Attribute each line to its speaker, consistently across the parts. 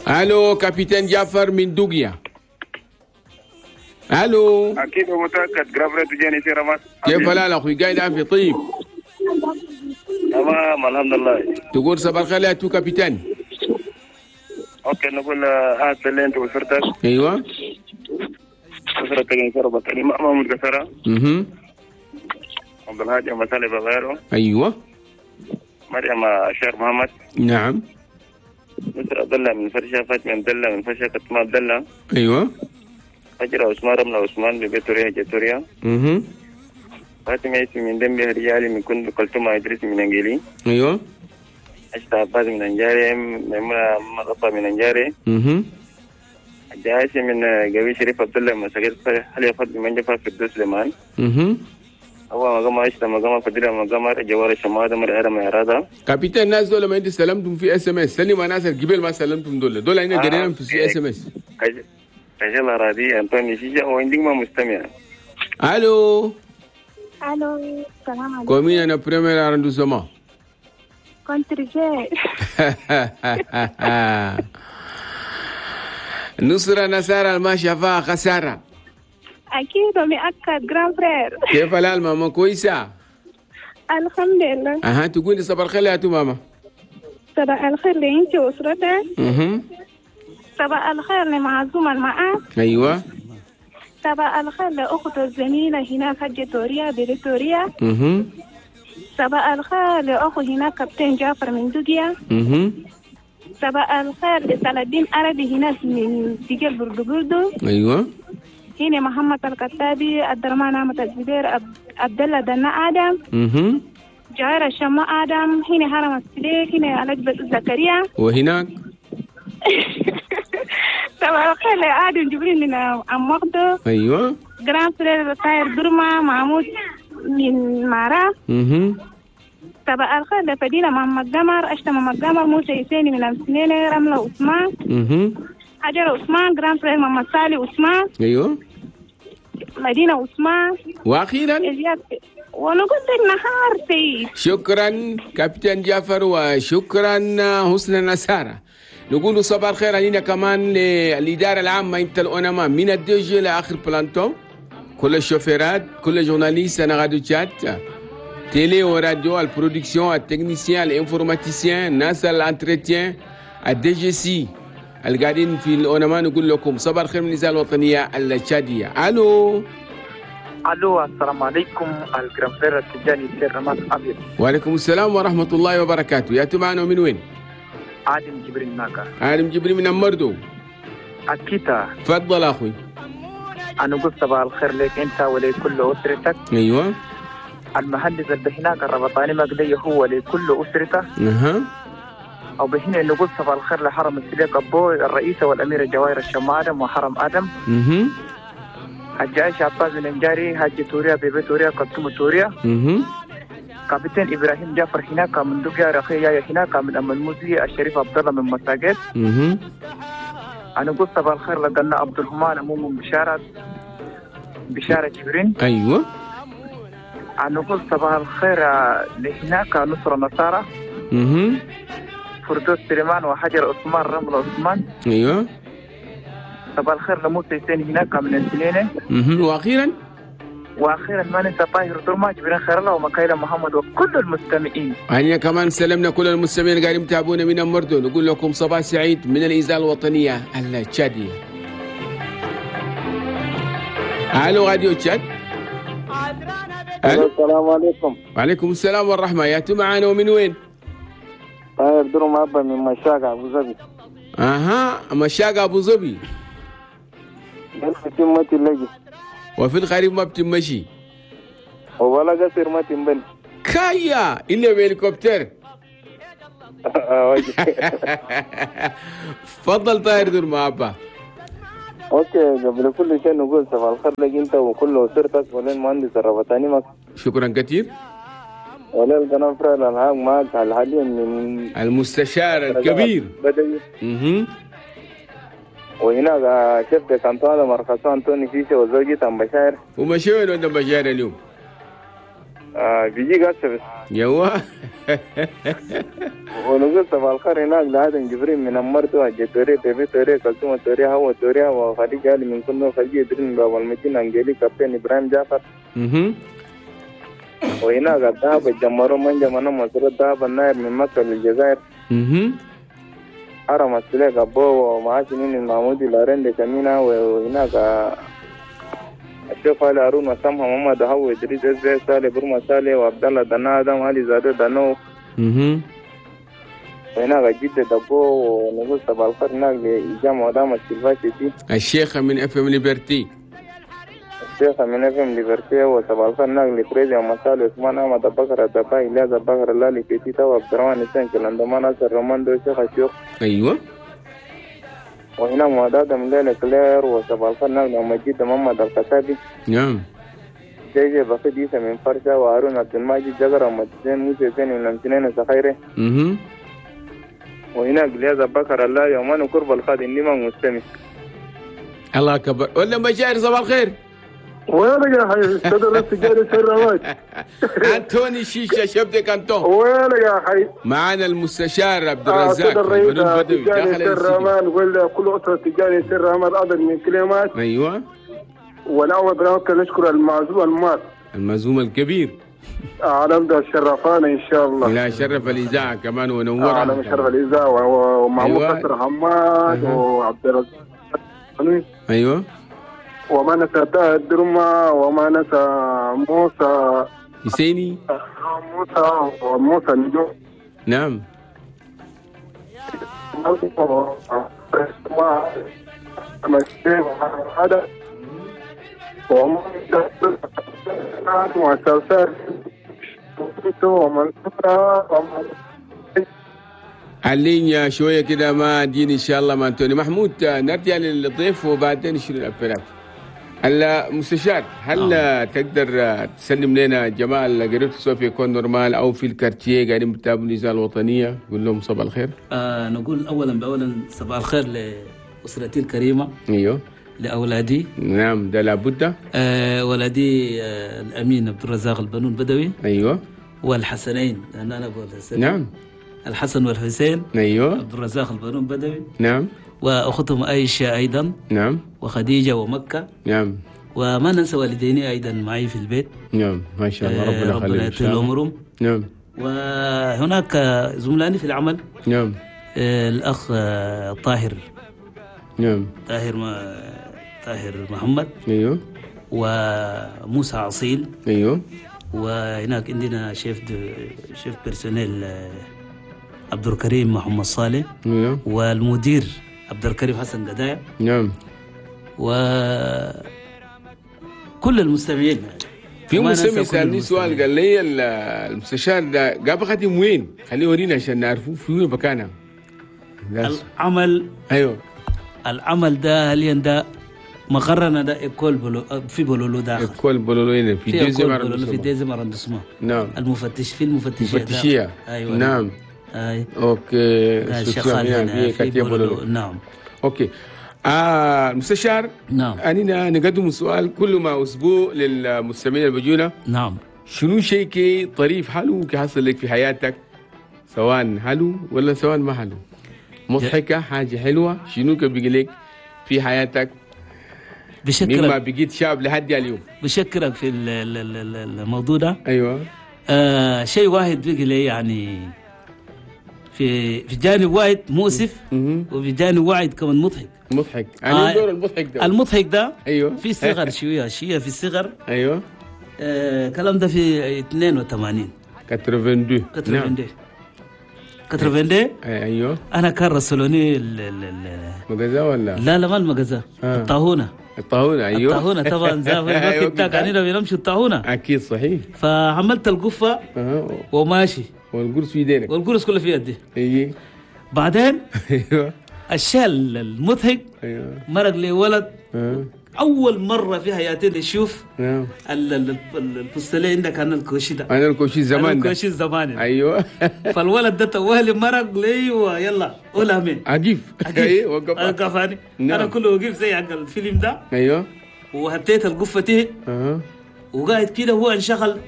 Speaker 1: الو capitaine جعفر من دوغيا. الو.
Speaker 2: اكيد ومتاكد grand frère تجاني سيرة مات.
Speaker 1: كيف الحال اخوي؟ قاعد عافية طيب؟
Speaker 2: تمام الحمد لله.
Speaker 1: تقول صباح الخير يا تو capitaine.
Speaker 2: okay نقول هات اللي انت واسرتك.
Speaker 1: ايوه.
Speaker 2: اسرتك ان شاء الله بطني محمود كسرة. عبد الهادي مسالي بغيره.
Speaker 1: ايوه.
Speaker 2: مريم الشيخ محمد.
Speaker 1: نعم.
Speaker 2: مصر عبد الله من فرشة، فاطمة عبد الله من فرشة، كتمة عبد الله.
Speaker 1: ايوه.
Speaker 2: فجر عثمان رملة عثمان ببيتوريا جاتوريا. فاطمة عيسى من دمبي رجالي من كند كلثوم إدريس من أنجيلي.
Speaker 1: ايوه.
Speaker 2: أشتا عباس من أنجاري، ميمونة مغطى من أنجاري. جايسي من قوي شريف عبد الله من سجل حلي فضل من جفا في الدوس سليمان. هو مقام عشتا مقام فضيلة مقام جوار الشمادة مرعرة معرادة.
Speaker 1: capitaine الناس دول ما انت سلمتم في SMS، سلم ناس الجبال ما سلمتم دول، دول هنا جرينا في SMS.
Speaker 2: كجلا رادي أنطوني شيشة وعندك ما مستمع.
Speaker 1: الو.
Speaker 3: الو السلام عليكم.
Speaker 1: commune انا premier arrondissement.
Speaker 3: كنت رجال.
Speaker 1: نصرة نسارة ما شافها خسارة.
Speaker 3: أكيد ومؤكد grand frère.
Speaker 1: كيف الحال ماما؟ كويسة؟
Speaker 3: الحمد لله.
Speaker 1: أها تقولي صباح الخير يا تو ماما.
Speaker 3: صباح الخير لأنت وأسرتك. صباح الخير لمعزومة المعاك.
Speaker 1: أيوة.
Speaker 3: صباح الخير لأخت الزميلة هناك حجة توريا بريتوريا. صباح الخير لأخو هناك كابتن جعفر من دوجيا. صباح الخير لصلاح الدين عربي هناك من دجال بردو بردو.
Speaker 1: ايوه.
Speaker 3: هنا محمد الكتابي، عبد الرحمن احمد الزبير، عبد الله دنا ادم، جايرة الشما ادم، هنا هرم السليك، هنا علجبة زكريا.
Speaker 1: وهناك
Speaker 3: صباح الخير لآدم جبريل من أم مقدو.
Speaker 1: ايوه.
Speaker 3: grand frère طاير درما محمود من معرة. صباح الخير لفدينة محمد قمر، أشتم محمد قمر، موسى يسيني من أمسنينة، رملة عثمان، حجر عثمان، grand frère محمد صالح عثمان.
Speaker 1: ايوه.
Speaker 3: مدينة عثمان.
Speaker 1: واخيرا
Speaker 3: ونقول لك نهار سعيد.
Speaker 1: شكرا كابتن جعفر وشكرا حسن نسارة. نقول صباح الخير علينا كمان للإدارة العامة انت الأونما من ال DG لآخر planton، كل الشوفيرات، كل journalistes انا راديو تشاد télé وراديو، ال production، ال techniciens، ال informaticiens، ناس ال entretien، ال DGC القاعدين في الأونما. نقول لكم صباح الخير من الإذاعة الوطنية التشادية. الو.
Speaker 4: الو السلام عليكم ال grand frère التجاني سير رماس ابيض.
Speaker 1: وعليكم السلام ورحمة الله وبركاته. يا معنا من وين؟
Speaker 4: عادم جبريل ناكا.
Speaker 1: عادم جبريل من أمردو.
Speaker 4: أكيد.
Speaker 1: تفضل أخوي.
Speaker 4: أنا قلت صباح الخير لك أنت ولكل أسرتك.
Speaker 1: أيوة.
Speaker 4: المهندس اللي هناك الربطاني مقدي هو لكل أسرته.
Speaker 1: أها.
Speaker 4: أو بهنا نقول صباح الخير لحرم السليق أبو الرئيسة والأميرة جواهر الشم آدم وحرم آدم. حج عائشة عباس بن انجاري، حج توريا بيبي توريا كلثوم توريا. كابتن إبراهيم جعفر هناك من دوغيا، رخي هناك من أم الموزي، الشريف عبد الله من مساجد. أنا قلت صباح الخير لقنا عبد الرحمن أمو بشارة بشارة جبرين.
Speaker 1: أيوة.
Speaker 4: أنا قلت صباح الخير لهناك نصر نصارى. فردوس سليمان وحجر عثمان رمل عثمان.
Speaker 1: أيوة.
Speaker 4: صباح الخير لموسى يسين هناك من السنينة. واخيرا ما ننسى طاهر درما جبرين خير الله ومكايلة محمد وكل المستمعين.
Speaker 1: هنيا كمان سلمنا كل المستمعين اللي قاعدين يتابعونا من المردو. نقول لكم صباح سعيد من الإذاعة الوطنية التشادية. الو راديو تشاد.
Speaker 2: السلام عليكم.
Speaker 1: وعليكم السلام والرحمة. يا معانا ومن وين؟
Speaker 2: طاهر درما أبا من مشاقة أبو ظبي.
Speaker 1: اها مشاقة أبو ظبي. وفي الخريف ما بتمشي
Speaker 2: ولا قصير ما تنبني
Speaker 1: كايا إلا بهليكوبتر. تفضل طاهر دور ما أبا.
Speaker 2: okay قبل كل شيء نقول صباح الخير لك انت وكل اسرتك وللمهندس الربطاني مك.
Speaker 1: شكرا كثير.
Speaker 2: ولل grand frère الالعاب معك حاليا من
Speaker 1: المستشار الكبير
Speaker 2: بدوي. وهناك شفت كانتونا مرخصان أنتوني شيشة وزوجته أم بشاير.
Speaker 1: ومشي وين أم بشاير اليوم؟
Speaker 2: بيجي قاسبس
Speaker 1: يوا
Speaker 2: ونقول صباح الخير هناك لآدم جبريل من أمرتو الجتوري بيبي توري كلثوم توري هو توري وخديجة علي من كنو خديجة إدريس من باب المدينة أنجلي كابتن إبراهيم جعفر. وهناك الذهب الجمرو من جمنا مصر الذهب النائب من مصر للجزائر. حرم السلاك أبو ومعاش من المعمودي لارين كمينة. وهناك الشيخ علي هارون وسامح محمد هو إدريس إزاي سالي برما سالي وعبد الله دنا آدم علي زادو دانو. وهناك جدة دبو ونقول صباح الخير هناك لإجامة ودام السلفاشي
Speaker 1: الشيخة من FM Liberté.
Speaker 2: الشيخة من FM Liberté وصباح الخير هناك لفريزي ومسالي عثمان أحمد بكر الدبا إلياس بكر اللالي كيتيتا وعبد الرحمن حسين كلاندمان ناصر روماندو الشيخ الشيوخ.
Speaker 1: أيوة.
Speaker 2: وهنا معداد من ليلة كلير وصباح الخير هناك لمجيد محمد الخشابي.
Speaker 1: نعم.
Speaker 2: جي بخيت عيسى من فرشة وهارون عبد الماجد جزر ومجدين موسى زين من أمتنين سخيرة. وهناك لياز بكر الله يومان قرب الخادم لما مستمع.
Speaker 1: الله أكبر. ولا مشاعر صباح الخير.
Speaker 5: وينك يا حي صدر التجاري سر
Speaker 1: أنتوني شيشة شبتك أنتون.
Speaker 5: وينك يا حي.
Speaker 1: معنا المستشار عبد الرزاق
Speaker 5: صدر الرئيس التجاري سر رحمن ولا كل أسرة التجاري سر رحمن أدر من كلمات.
Speaker 1: أيوة.
Speaker 5: والأول بنوك نشكر المعزوم المات
Speaker 1: المعزوم الكبير
Speaker 5: عالم ده شرفانا إن شاء الله.
Speaker 1: لا شرف الإذاعة كمان ونورها.
Speaker 5: عالم شرف الإذاعة ومعمود أيوة. قصر حماد وعبد الرزاق.
Speaker 1: أيوة.
Speaker 5: وما نسى الدرما وما نسى موسى
Speaker 1: حسيني
Speaker 5: موسى وموسى نجوم.
Speaker 1: نعم. علينا شوية كده ما دين إن شاء الله ما أنتوني محمود. نرجع للضيف وبعدين نشيل الأبلاف. المستشار هل تقدر تسلم لنا جماعة اللي قريت سواء في École Normale أو في ال quartier قاعدين بتابعوا الإذاعة الوطنية، قول لهم صباح الخير.
Speaker 6: نقول أولا بأولا صباح الخير لأسرتي الكريمة.
Speaker 1: أيوه.
Speaker 6: لأولادي.
Speaker 1: نعم ده لابد.
Speaker 6: ولدي الأمين عبد الرزاق البنون بدوي.
Speaker 1: أيوه.
Speaker 6: والحسنين لأن أنا أبو الحسنين.
Speaker 1: نعم.
Speaker 6: الحسن والحسين.
Speaker 1: أيوه.
Speaker 6: عبد الرزاق البنون بدوي.
Speaker 1: نعم.
Speaker 6: وأختهم عائشة أيضا.
Speaker 1: نعم.
Speaker 6: وخديجة ومكة.
Speaker 1: نعم.
Speaker 6: وما ننسى والديني أيضا معي في البيت.
Speaker 1: نعم ما شاء الله ربنا
Speaker 6: يطول عمرهم.
Speaker 1: نعم.
Speaker 6: وهناك زملائي في العمل.
Speaker 1: نعم.
Speaker 6: الأخ طاهر.
Speaker 1: نعم.
Speaker 6: طاهر محمد.
Speaker 1: أيوه.
Speaker 6: وموسى عصيل.
Speaker 1: أيوه.
Speaker 6: وهناك عندنا chef personnel عبد الكريم محمد صالح.
Speaker 1: أيوه.
Speaker 6: والمدير عبد الكريم حسن قدايا.
Speaker 1: نعم.
Speaker 6: وكل المستمعين.
Speaker 1: في مستمع سألني سؤال قال لي المستشار ده جاب خاتم وين؟ خليه يورينا عشان نعرفه في وين مكانه.
Speaker 6: العمل.
Speaker 1: ايوه.
Speaker 6: العمل ده حاليا ده مقرنا ده école بولو في بولولو داخل.
Speaker 1: école بولولو هنا في deuxième
Speaker 6: في deuxième arrondissement.
Speaker 1: نعم.
Speaker 6: المفتش في المفتشية.
Speaker 1: المفتشية.
Speaker 6: ايوه.
Speaker 1: نعم.
Speaker 6: اي.
Speaker 1: OK.
Speaker 6: شغال في بولولو. نعم.
Speaker 1: OK. المستشار.
Speaker 6: نعم.
Speaker 1: أننا نقدم سؤال كل ما أسبوع للمستمعين اللي بيجونا.
Speaker 6: نعم.
Speaker 1: شنو شيء كي طريف حلو كي حصل لك في حياتك، سواء حلو ولا سواء ما حلو، مضحكة، حاجة حلوة، شنو كي بيجي لك في حياتك
Speaker 6: بشكرك
Speaker 1: مما بقيت شاب لحد اليوم؟
Speaker 6: بشكرك في الموضوع ده.
Speaker 1: أيوة.
Speaker 6: شيء واحد بيجي لي يعني في جانب واحد مؤسف، وفي جانب واحد كمان مضحك.
Speaker 1: مضحك. أنا دور المضحك ده.
Speaker 6: المضحك ده.
Speaker 1: أيوة.
Speaker 6: في صغر شوية في الصغر.
Speaker 1: أيوة.
Speaker 6: كلام ده في 82.
Speaker 1: 82.
Speaker 6: 82.
Speaker 1: أيوة.
Speaker 6: أنا كان رسلوني
Speaker 1: المجازة ولا؟
Speaker 6: لا لا ما المجازة. الطاهونة.
Speaker 1: الطاهونة. أيوة.
Speaker 6: الطاهونة طبعا زي الوقت بتاعك يعني بنمشي الطاهونة.
Speaker 1: أكيد صحيح.
Speaker 6: فعملت القفة وماشي.
Speaker 1: والقرص في يدينك.
Speaker 6: والقرص كله في يدي.
Speaker 1: أيوة.
Speaker 6: بعدين.
Speaker 1: أيوة.
Speaker 6: الشيء المضحك.
Speaker 1: أيوة.
Speaker 6: مرق لي ولد. أول مرة في حياتي نشوف البستلين عندك أنا الكوشي ده.
Speaker 1: أنا الكوشي زمان ده.
Speaker 6: الكوشي زمان.
Speaker 1: أيوة.
Speaker 6: فالولد ده توهلي مرق لي ويلا قولها مين.
Speaker 1: أجيف. أيوة وقف.
Speaker 6: وقفاني. أنا كله وقف زي حق الفيلم ده.
Speaker 1: أيوة.
Speaker 6: وهتيت القفة تهت. وقاعد كده هو انشغل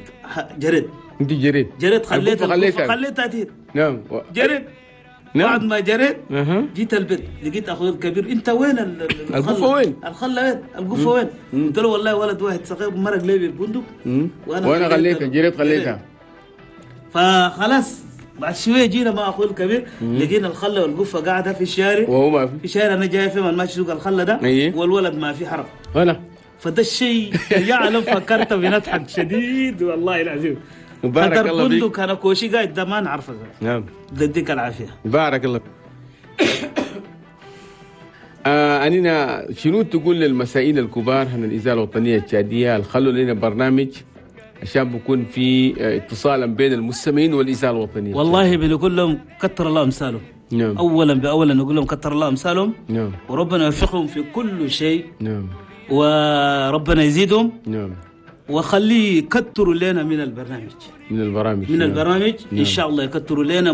Speaker 6: جريت.
Speaker 1: انت جريت؟
Speaker 6: جريت خليتها خليتها تهت.
Speaker 1: نعم
Speaker 6: جريت. نعم. بعد ما جريت جيت البيت لقيت اخوي الكبير، انت وين
Speaker 1: القفه وين؟
Speaker 6: الخلة وين؟ القفه وين؟ قلت له والله ولد واحد صغير مرق لي بالبندق
Speaker 1: وانا خليتها، جريت خليتها.
Speaker 6: فخلاص بعد شوية جينا مع اخوي الكبير لقينا الخلة والقفه قاعدة في الشارع،
Speaker 1: وهو ما
Speaker 6: في الشارع. انا جاي في ماشي سوق الخلة ده والولد ما في حرب.
Speaker 1: انا
Speaker 6: فده الشيء يعلم فكرت بنضحك شديد والله العظيم.
Speaker 1: بارك الله فيك.
Speaker 6: بندق انا كوشي قاعد ده ما نعرفه.
Speaker 1: نعم
Speaker 6: يديك العافية.
Speaker 1: بارك الله. أننا شنو تقول للمسائل الكبار هن الإذاعة الوطنية التشادية اللي خلوا لنا برنامج عشان بكون في اتصالا بين المستمعين والإذاعة الوطنية؟
Speaker 6: والله بنقول لهم كتر الله أمثالهم.
Speaker 1: نعم.
Speaker 6: أولا بأولا نقول لهم كتر الله أمثالهم.
Speaker 1: نعم.
Speaker 6: وربنا يوفقهم في كل شيء.
Speaker 1: نعم.
Speaker 6: وربنا يزيدهم.
Speaker 1: نعم.
Speaker 6: وخليه يكتروا لنا من البرنامج.
Speaker 1: من البرامج.
Speaker 6: من
Speaker 1: نعم.
Speaker 6: البرامج.
Speaker 1: نعم.
Speaker 6: إن شاء الله يكتروا لنا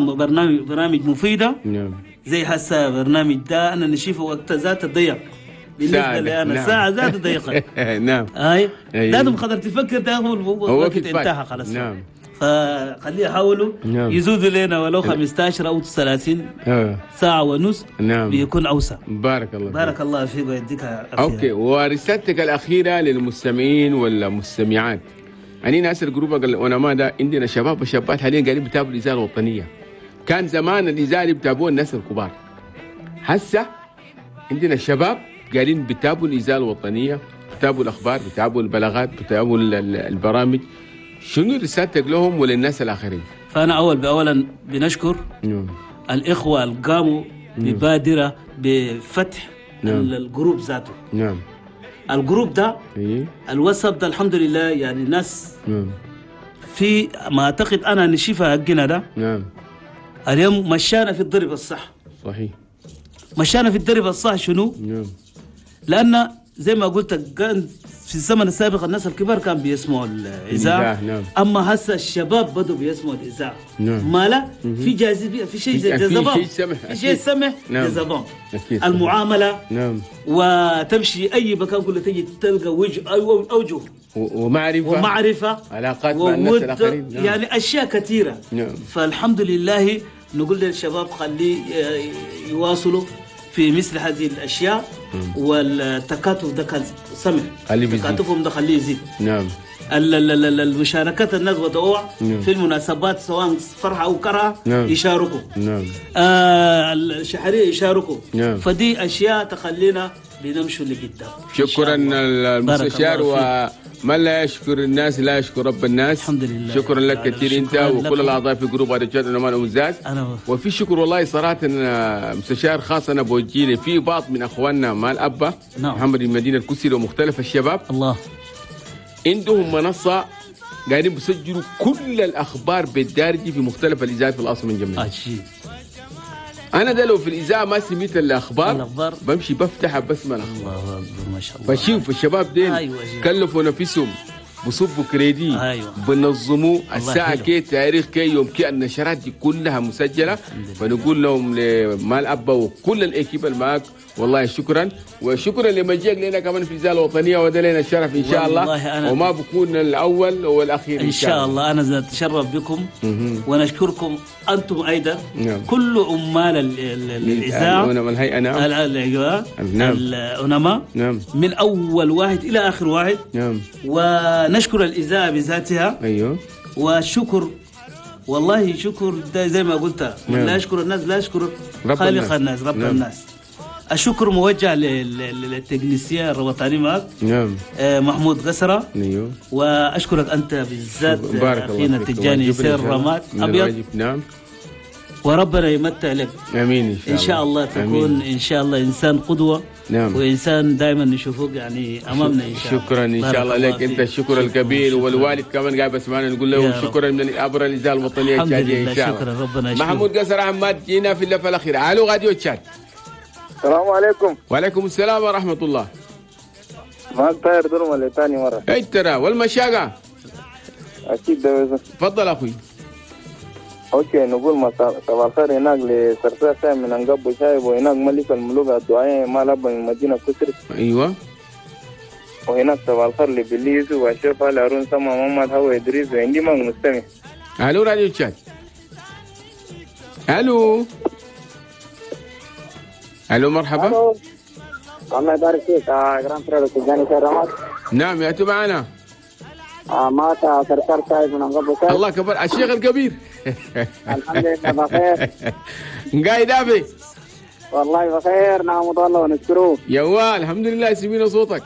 Speaker 6: برامج مفيدة.
Speaker 1: نعم.
Speaker 6: زي هسه برنامج ده أنا نشوفه وقت ذات ضيق بالنسبة لي أنا.
Speaker 1: نعم.
Speaker 6: ساعة ذات ضيقة.
Speaker 1: نعم.
Speaker 6: هاي لازم قدر تفكر تاخذ الوقت انتهى خلاص.
Speaker 1: نعم.
Speaker 6: فخليه يحاولوا.
Speaker 1: نعم.
Speaker 6: يزودوا لنا ولو 15 أو 30 ساعة ونص.
Speaker 1: نعم.
Speaker 6: بيكون أوسع.
Speaker 1: بارك الله فيك.
Speaker 6: بارك الله فيك ويديك العافية.
Speaker 1: okay، ورسالتك الأخيرة للمستمعين والمستمعات. أنا ناس ال groupe العلماء ده عندنا شباب وشابات حاليا قاعدين بيتابعوا الإذاعة الوطنية. كان زمان الإذاعة اللي بيتابعوها الناس الكبار. هسه عندنا شباب قاعدين بيتابعوا الإذاعة الوطنية، بيتابعوا الأخبار، بيتابعوا البلاغات، بيتابعوا البرامج. شنو رسالتك لهم وللناس الآخرين؟
Speaker 6: فأنا أول بأولا بنشكر الإخوة اللي قاموا ببادرة بفتح ال groupe ذاته.
Speaker 1: نعم.
Speaker 6: ال groupe ده الواتساب ده الحمد لله يعني الناس في ما أعتقد أنا نشيفها حقنا ده.
Speaker 1: نعم.
Speaker 6: اليوم مشانا في الضرب الصح.
Speaker 1: صحيح.
Speaker 6: مشانا في الضرب الصح شنو؟
Speaker 1: نعم.
Speaker 6: لأن زي ما قلت كان في الزمن السابق الناس الكبار كانوا بيسمعوا الإذاعة.
Speaker 1: نعم.
Speaker 6: أما هسه الشباب بدوا بيسمعوا الإذاعة.
Speaker 1: نعم.
Speaker 6: ما لا في جاذبية، في شيء جذبهم، في شيء سمح.
Speaker 1: نعم.
Speaker 6: جذبهم. المعاملة.
Speaker 1: نعم.
Speaker 6: وتمشي أي مكان كله تجي تلقى وجه أوجه ومعرفة
Speaker 1: علاقات مع الناس الآخرين. نعم.
Speaker 6: يعني أشياء كثيرة.
Speaker 1: نعم.
Speaker 6: فالحمد لله نقول للشباب خليه يواصلوا في مثل هذه الأشياء. والتكاتف ده كان سمح، تكاتفهم ده خليه يزيد.
Speaker 1: نعم.
Speaker 6: المشاركات الناس ودعوة.
Speaker 1: نعم.
Speaker 6: في المناسبات سواء فرحة أو كرهة.
Speaker 1: نعم.
Speaker 6: يشاركوا.
Speaker 1: نعم.
Speaker 6: الشحرية يشاركوا.
Speaker 1: نعم.
Speaker 6: فدي أشياء تخلينا بنمشوا لقدام.
Speaker 1: شكرا المستشار، ومن لا يشكر الناس لا يشكر رب الناس.
Speaker 6: الحمد لله.
Speaker 1: شكرا لك كثير انت وكل الاعضاء في groupe رجال الأمان أمزاز. وفي شكر والله صراحة مستشار خاص انا بوجه في بعض من اخواننا مال ابا.
Speaker 6: نعم.
Speaker 1: محمد المدينة الكسري ومختلف الشباب
Speaker 6: الله
Speaker 1: عندهم منصة قاعدين بيسجلوا كل الاخبار بالدارجة في مختلف الاذاعات في العاصمة الجمهورية. انا ده لو في الاذاعة ما سميت الاخبار بمشي بفتح بسمع الاخبار.
Speaker 6: الله اكبر ما شاء الله.
Speaker 1: فشوف الشباب دين.
Speaker 6: أيوة.
Speaker 1: كلفوا نفسهم بصبوا كريدي.
Speaker 6: أيوة.
Speaker 1: بنظموا الساعة كي تاريخ كي يوم كي النشرات دي كلها مسجله. فنقول لهم لمال ابا وكل ال équipe اللي معاك والله شكرا، وشكرا لمجيك لنا كمان في الإذاعة الوطنية، وده لنا الشرف ان شاء الله، وما بكون الاول والاخير
Speaker 6: ان شاء الله. انا اتشرف بكم. ونشكركم انتم ايضا.
Speaker 1: نعم.
Speaker 6: كل عمال الاذاعة
Speaker 1: الهيئة. نعم.
Speaker 6: العلماء.
Speaker 1: نعم.
Speaker 6: من اول واحد الى اخر واحد.
Speaker 1: نعم.
Speaker 6: ونشكر الاذاعة بذاتها.
Speaker 1: ايوه.
Speaker 6: وشكر والله شكر ده زي ما قلت.
Speaker 1: نعم.
Speaker 6: لا يشكر الناس لا يشكر خالق الناس رب.
Speaker 1: نعم.
Speaker 6: الناس. الشكر موجه للتكنيسية الوطني معك.
Speaker 1: نعم.
Speaker 6: محمود قسرة.
Speaker 1: ايوه.
Speaker 6: واشكرك انت بالذات اخينا التجاني سير رماد ابيض.
Speaker 1: نعم.
Speaker 6: وربنا يمتع لك.
Speaker 1: امين ان شاء الله.
Speaker 6: ان شاء الله تكون.
Speaker 1: أمين.
Speaker 6: ان شاء الله انسان قدوة.
Speaker 1: نعم.
Speaker 6: وانسان دائما نشوفك يعني امامنا ان شاء الله.
Speaker 1: شكرا ان شاء الله لك انت الشكر الكبير.
Speaker 6: شكرا.
Speaker 1: والوالد كمان قاعد بسمعنا نقول له شكرا من عبر الاذاعة الوطنية التشاديه ان شاء الله.
Speaker 6: شكرا ربنا يشكرك.
Speaker 1: محمود قسرة عماد جينا في اللفة الاخيرة. الو راديو تشاد.
Speaker 2: السلام عليكم.
Speaker 1: وعليكم السلام ورحمة الله.
Speaker 2: معك طاير درمة لثاني مرة.
Speaker 1: اي ترى والمشاقة.
Speaker 2: أكيد ده.
Speaker 1: تفضل أخوي.
Speaker 2: okay نقول صباح الخير هناك لسرسار من أنقب وشايب، وهناك ملك الملوك الدعاء مال أبا من مدينة كسر.
Speaker 1: أيوة.
Speaker 2: وهناك صباح الخير لبلي يوسف واشرف علي هارون سما محمد هو ادريس وعندي ما مستمع.
Speaker 1: الو راديو تشاد. الو الو مرحبا.
Speaker 7: ألو. الله يبارك فيك grand frère تجاني سرمات.
Speaker 1: نعم يا معنا.
Speaker 7: مات سرسار سايب من أنقبو.
Speaker 1: الله كبر الشيخ الكبير.
Speaker 7: الحمد لله بخير.
Speaker 1: قايد أبي.
Speaker 7: والله بخير نعم الله ونشكره.
Speaker 1: يوا الحمد لله سمينا صوتك.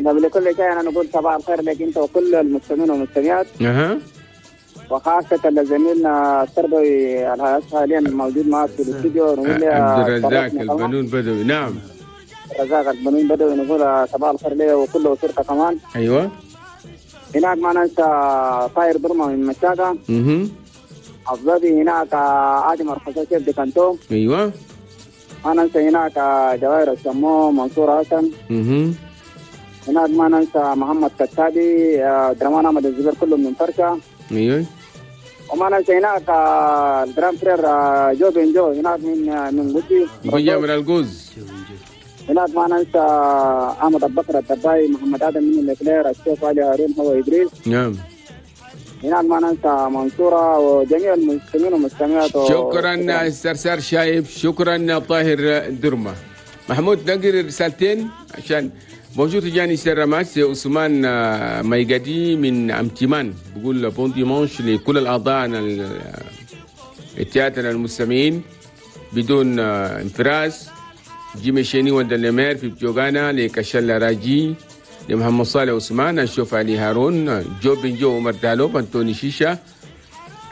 Speaker 7: قبل كل شيء أنا نقول صباح الخير لك أنت وكل المستمعين والمستمعات. وخاصة لزميلنا التربوي حاليا الموجود معك في الاستوديو. نقول
Speaker 1: عبد الرزاق البنون بدوي. نعم
Speaker 7: الرزاق البنون بدوي، نقول صباح الخير له وكل أسرته كمان.
Speaker 1: أيوة
Speaker 7: هناك ما ننسى طاير برمة من مشاكة. أفضل هناك آدم الخشاشة بكانتو.
Speaker 1: أيوة
Speaker 7: ما ننسى هناك جواهر السمو منصور حسن. هناك ما ننسى محمد كتابي درمان أحمد الزبير كله من فرشة.
Speaker 1: أيوة
Speaker 7: وما ننسى هناك ال grand frère جو بن جو هناك من قدي
Speaker 1: بيا من الجوز.
Speaker 7: هناك ما ننسى أحمد أبو بكر الدباي محمد آدم من الإكلير الشيخ علي هارون هو إدريس.
Speaker 1: نعم
Speaker 7: هناك ما ننسى منصورة وجميع المستمعين والمستمعات.
Speaker 1: شكرا السرسار شايب، شكرا طاهر درمة. محمود نقري رسالتين عشان bonjour تجاني سرماس. عثمان ميقادي من أمتمان بقول bon dimanche لكل الأعضاء التياتر المستمعين بدون انفراس. جيمي شيني وندلمير في بجوغانا لكشلا راجي لمحمد صالح عثمان الشوف علي هارون جو بن جو عمر دالوب أنتوني شيشة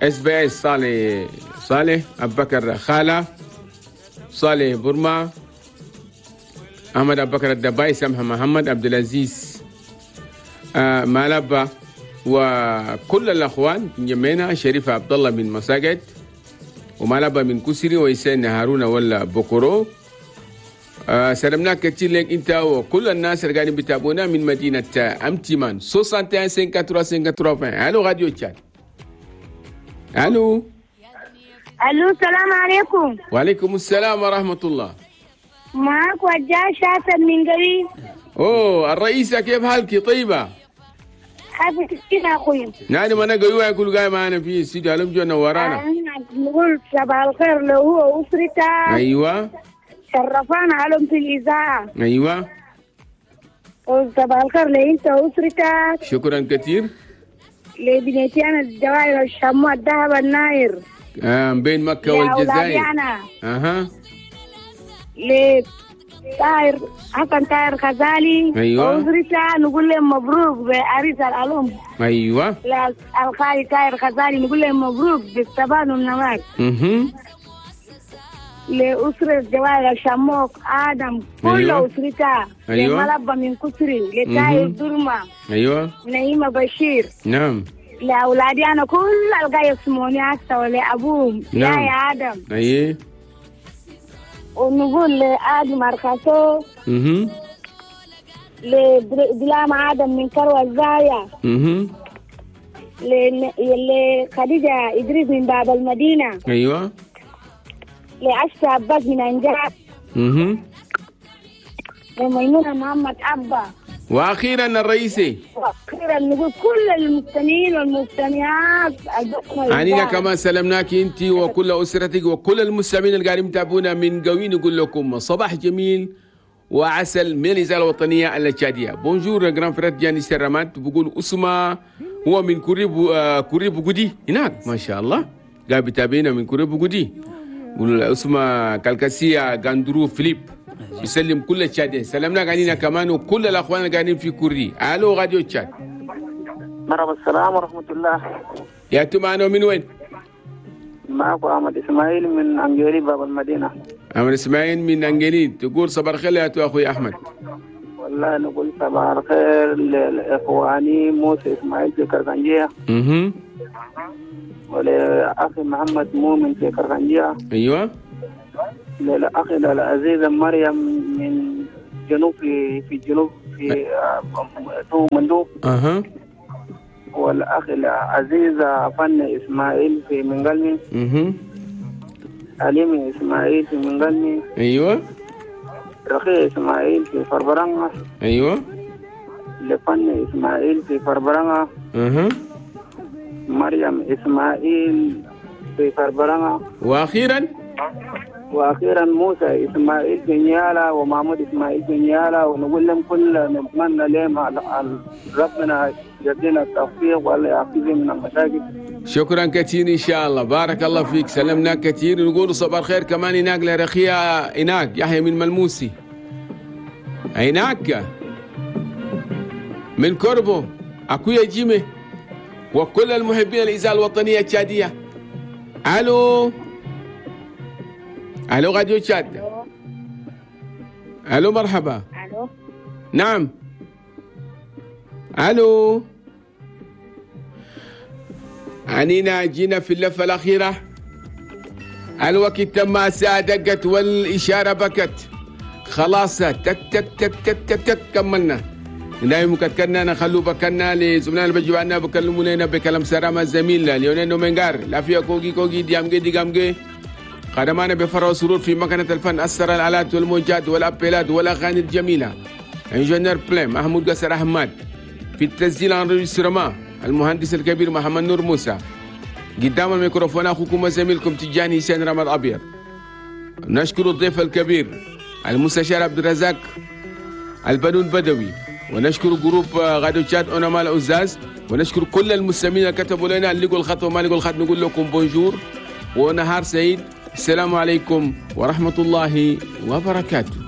Speaker 1: اس بي اس صالح صالح أبو بكر خالة صالح برما أحمد أبو بكر الدباي سمحة محمد عبد العزيز مالبا وكل الأخوان جمينا شريف عبد الله من مساجد ومالبا من كسري ويسين هارون ولا بكرو. سلمناك كثير لك انت وكل الناس اللي قاعدين بيتابعونا من مدينة أمتمان. 61 53 53. الو راديو تشاد. الو
Speaker 8: الو السلام عليكم.
Speaker 1: وعليكم السلام ورحمة الله.
Speaker 8: معاك وجاه شاسم من قريب.
Speaker 1: اوه الرئيسة كيف حالك؟ طيبة؟
Speaker 8: حافظ كثير يا اخوي.
Speaker 1: نعم انا قوي يقول قايم معنا في الاستوديو علم جونا ورانا.
Speaker 8: نقول صباح الخير له هو واسرته.
Speaker 1: ايوه
Speaker 8: شرفانا علم في الإذاعة.
Speaker 1: أيوة
Speaker 8: وصباح الخير لأنت وأسرتك.
Speaker 1: شكرا كثير.
Speaker 8: لبنيتي أنا الجواهر الشموع الذهب الناير.
Speaker 1: بين مكة والجزائر.
Speaker 8: أنا.
Speaker 1: أها.
Speaker 8: لطاهر حسن طاهر غزالي.
Speaker 1: أيوة.
Speaker 8: وأسرتها نقول لهم مبروك بعريس الألوم.
Speaker 1: أيوة.
Speaker 8: الخالي طاهر غزالي نقول لهم مبروك بالثبات والنماك. لأسرة جواهر الشموك آدم كل
Speaker 1: أيوة.
Speaker 8: أسرتها.
Speaker 1: أيوة.
Speaker 8: لملبة من كسري لتاير درمة.
Speaker 1: أيوة.
Speaker 8: نعيمة بشير.
Speaker 1: نعم.
Speaker 8: لأولادي أنا كل القاية يسموني هسه ولأبوهم.
Speaker 1: نعم.
Speaker 8: يا آدم.
Speaker 1: أيه.
Speaker 8: ونقول لآدم أرخصو. لبلام آدم من كروة الزايا. لخديجة إدريس من باب المدينة.
Speaker 1: أيوة.
Speaker 8: لعشة عباس من أنجاب. لميمونة محمد أبا.
Speaker 1: وأخيرا الرئيسي.
Speaker 8: وأخيرا نقول كل المستمعين والمستمعات.
Speaker 1: عنينا كما سلمناك أنت وكل أسرتك وكل المستمعين اللي قاعدين يتابعونا من قوي. نقول لكم صباح جميل وعسل من الإذاعة الوطنية التشادية. bonjour grand frère جاني سرمات. بقول أسمة هو من كوري بوغودي هناك ما شاء الله قاعد بيتابعنا من كوري بوغودي. اسمه كالكاسيا غاندرو فيليب يسلم كل التشادين. سلمنا علينا كمان وكل الاخوان اللي قاعدين في كوري. الو راديو تشاد.
Speaker 4: مرحبا السلام ورحمة الله.
Speaker 1: يا انتم معنا من وين؟
Speaker 4: معكم احمد اسماعيل من انجيلي باب المدينة.
Speaker 1: احمد اسماعيل من انجيلي. تقول صباح الخير يا اخوي احمد.
Speaker 4: والله نقول صباح الخير لاخواني موسى اسماعيل في كرغنجيه. ولأخي محمد مؤمن في كرغنجية.
Speaker 1: أيوة.
Speaker 4: للأخي العزيزة مريم من جنوب في الجنوب في مندوب.
Speaker 1: أها.
Speaker 4: والأخ العزيز فن إسماعيل في منقلمي. عليم إسماعيل في منقلمي.
Speaker 1: أيوة.
Speaker 4: رخي إسماعيل في فربرانة.
Speaker 1: أيوة.
Speaker 7: لفن إسماعيل في فربرنة. مريم إسماعيل في فربرنة. وأخيرا موسى إسماعيل في نيالا ومحمود إسماعيل في نيالا، ونقول لهم كل نتمنى لهم ربنا يدينا التوفيق والله يعافيهم من المشاكل.
Speaker 1: شكرا كثير إن شاء الله، بارك الله فيك، سلمنا كثير. نقول صباح الخير كمان هناك لرخية هناك يحيى من ملموسي هناك من كوربو أكويا جيمي وكل المحبين الإذاعة الوطنية التشادية. ألو ألو راديو تشاد. ألو مرحبا.
Speaker 8: ألو.
Speaker 1: نعم. ألو. عنينا جينا في اللفة الأخيرة، الوقت تم، الساعة دقت والإشارة بكت، خلاص تك تك تك تك تك تك كملنا. نايم كتكنا نخلو بكنا لزملائنا اللي بيجوا عنا بكلموا لنا بكلام سلامة زميلنا ليونيل نومنغار لا فيها كوكي كوكي ديامجي ديامجي. خدمانا بفرح وسرور في مكنة الفن، أسر الآلات والموجات والأبيلات والأغاني الجميلة ingénieur بلين محمود قصر أحمد، في التسجيل enregistrement المهندس الكبير محمد نور موسى، قدام الميكروفون أخوكم وزميلكم تجاني حسين رمض أبيض. نشكر الضيف الكبير المستشار عبد الرزاق البنون بدوي، ونشكر groupe راديو تشاد أونما الأزاز، ونشكر كل المستمعين اللي كتبوا لنا اللي لقوا الخط وما لقوا الخط. نقول لكم bonjour ونهار سعيد. السلام عليكم ورحمة الله وبركاته.